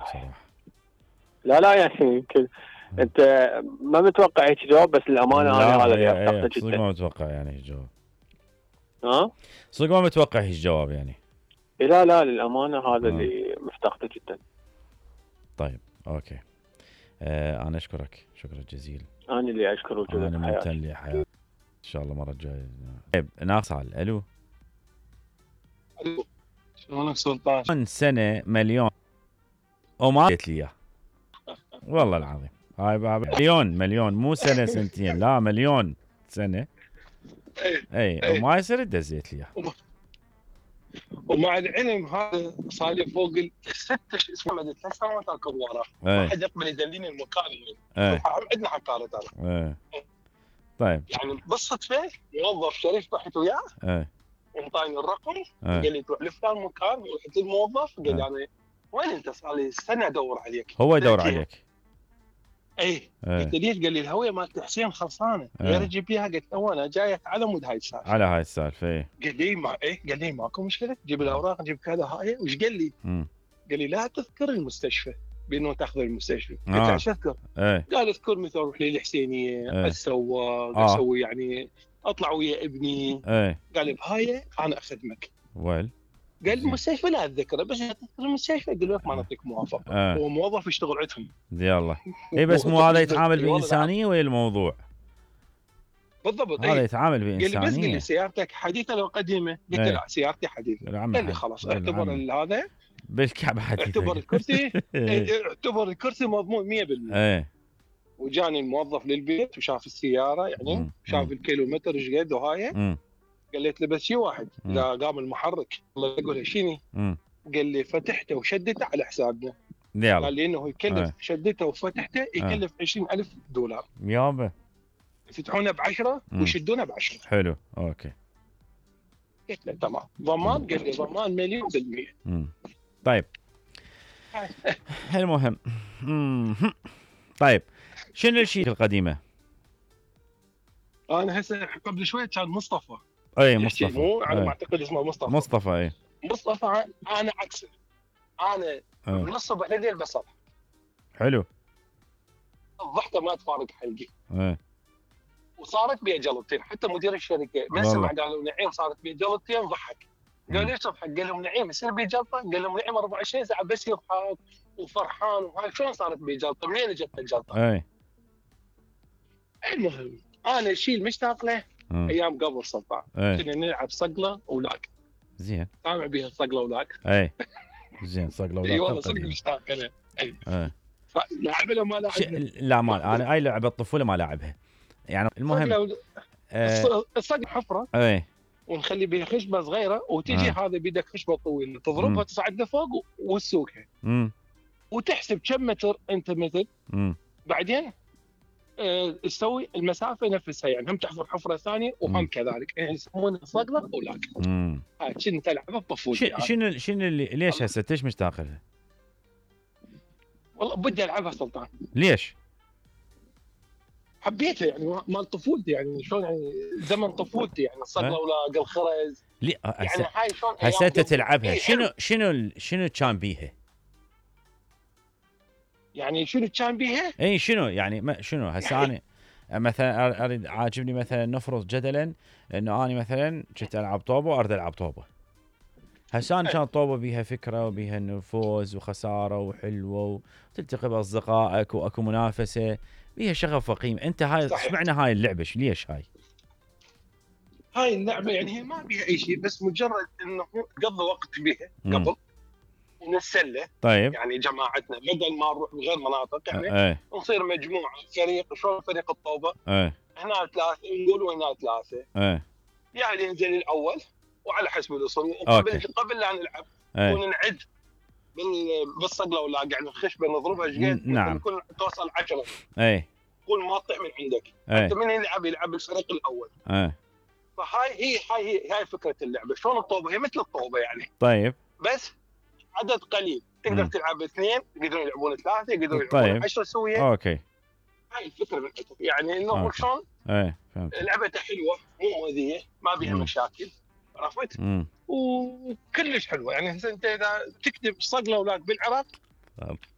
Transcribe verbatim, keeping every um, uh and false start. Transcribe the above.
بصراحه. لا لا يعني كل... انت ما متوقع هيك جواب، بس الامانه انا هذا اللي افتقده جدا. صدق ما متوقع يعني هيك جواب. ها؟ صدق ما متوقع هيك جواب يعني. لا لا للامانه هذا آه. اللي مفتقده جدا. طيب اوكي. آه انا اشكرك شكرا جزيلا. انا اللي اشكر وجودك. انا ممتن لحياتي. ان شاء الله المره الجايه. طيب ناصل. الو الو شلونك سلطان؟ من سنه مليون وما قلت لي اياه والله العظيم. هاي بابا مليون مليون مو سنه سنتين، لا مليون سنه. اي اي وما يصير تدزيت لي اياه. ومع العلم هذا صار لي فوق الست اسمه مدة ثلاث سنوات اركض وراه، ما حد يقبل يدليني المكان وين. عندنا حكاره ترى. ايه طيب يعني بالصدفه موظف شريف رحت وياه. ايه وانطاني الرقم. ايه. قال لي تروح لفلان مكان، رحت للموظف قال لي انا وين انت؟ صار لي سنه ادور عليك. هو يدور عليك. ايه قلت ليش؟ قال لي الهويه مالت حسين خلصانه. يا رجل بيها. قلت له انا جاي على مود هاي السالفه. على هاي السالفه. ايه قال لي ما ايه قال لي ماكو مشكله، جيب الاوراق جيب كذا. هاي وش قال لي؟ مم. قال لي لا تذكر المستشفى بانه تاخذ المستشفى. قلت له له ايش اذكر؟ ايه. قال اذكر مثلا اروح للحسينيه. ايه. اسوق آه. اسوي يعني اطلع ويا ابني. ايه. قال لي بهاي انا اخدمك. ويل قال المستشفى لا اتذكره، بس تذكر المستشفى. قال لك ما نعطيك موافقه. آه. هو موظف يشتغل عندهم. يلا اي بس مو هذا يتعامل بانسانيه ويا الموضوع بالضبط. هذا يتعامل بانسانيه. قال لي بس قال لي سيارتك حديثه لو قديمه؟ قلت له لا سيارتي حديثه. قال لي خلاص اعتبر هذا بالكعبه حديثه. اعتبر الكرسي اعتبر الكرسي مضمون مية بالمية. ايه. وجاني الموظف للبيت وشاف السياره يعني مم. شاف مم. الكيلومتر ايش قد وهاي. قلت له بس شيء واحد اذا قام المحرك الله يقول شنو؟ قال لي فتحته وشدته على حسابنا. قال لي انه يكلف اه. شدته وفتحته يكلف اه. عشرين ألف دولار يابا. يفتحونه بعشرة ويشدونه بعشرة. حلو اوكي. قلت له تمام. ضمان؟ قال لي ضمان مليون بالمية. طيب المهم طيب شنو الشيء القديمه؟ انا هسه قبل شويه كان مصطفى. اي مصطفى. مو على ما اعتقد اسمه مصطفى. مصطفى اي. مصطفى انا عكسه. انا من الصبح لليل بصل. حلو. الضحكه ما تفارق حلقي. ايه. وصارت بي جلطتين، حتى مدير الشركه من سمع قالوا نعيم صارت بي جلطتين ضحك. قال ليش تضحك؟ قال لهم نعيم يصير بي جلطه؟ قال لهم نعيم أربعة وعشرين ساعه بس يضحك وفرحان وهاي شلون صارت بي جلطه؟ منين اجت الجلطه؟ اي. المهم انا الشيء المشتاق له م. ايام قبل سلطان كنا نلعب صقله ولاك. زين. سامع بيها الصقله ولاك؟ اي زين صقله ولاك. اي والله صدق مشتاق له. اي. اي. لعبها لو ما لعبها؟ ش... لا ما انا اي لعبه الطفوله ما لعبها يعني. المهم و... آه... الصقله حفره. اي. ونخلي بها خشبه صغيره وتجي آه. هذا بيدك خشبه طويله تضربها تصعد لفوق وتسوقها. امم وتحسب كم متر انت مثل. امم بعدين آه تسوي المسافه نفسها يعني هم تحفر حفره ثانيه وهم مم. كذلك يعني يسمونها صقله ولاك. امم هاي كنت العبها بطفولتي. شنو شنو شنو اللي ليش هسه ليش مشتاق لها؟ والله بدي العبها سلطان. ليش؟ حبيتها يعني مال طفولتي يعني شلون يعني زمن طفولتي يعني الصقله ولاك الخرز. لي يعني هاي شلون هسه انت تلعبها شنو شنو شنو كان بيها؟ يعني شنو كان بيها؟ اي شنو يعني ما شنو هسه انا مثلا اريد عاجبني مثلا نفرض جدلا انه انا مثلا كنت العب طوبه واريد العب طوبه. هسه انا كان طوبه بيها فكره وبيها انه فوز وخساره وحلوه وتلتقي باصدقائك واكو منافسه بيها شغف وقيم. انت هاي اشمعنى هاي اللعبه ليش هاي؟ هاي اللعبه يعني هي ما بيها اي شيء بس مجرد انه تقضي وقت بيها قبل ونتسلى. طيب يعني جماعتنا بدل ما نروح بغير مناطق يعني ايه. نصير مجموعه فريق شلون فريق الطوبه. ايه. هنا ثلاثه نقول هنا ثلاثه. ايه. يعني ينزل الاول وعلى حسب الاصول قبل قبل لا نلعب ايه. ونعد بالصقله ولا يعني الخشبه نضربها شقد. نعم. كل توصل عشرة. ايه. كل ما تطيح من عندك. ايه. انت من يلعب يلعب الفريق الاول. ايه. فهاي هي هاي هي هاي فكره اللعبه. شلون الطوبه هي مثل الطوبه يعني. طيب. بس عدد قليل تقدر م. تلعب اثنين يقدرون يلعبون ثلاثه يقدرون يلعبون طيب. عشرة سويه. اوكي. هاي الفكره من يعني انه شلون ايه فهمت. لعبتها حلوه مو مؤذيه ما بيها م. مشاكل عرفت. م. وكلش حلوه يعني انت اذا تكتب صقله ولاك بالعراق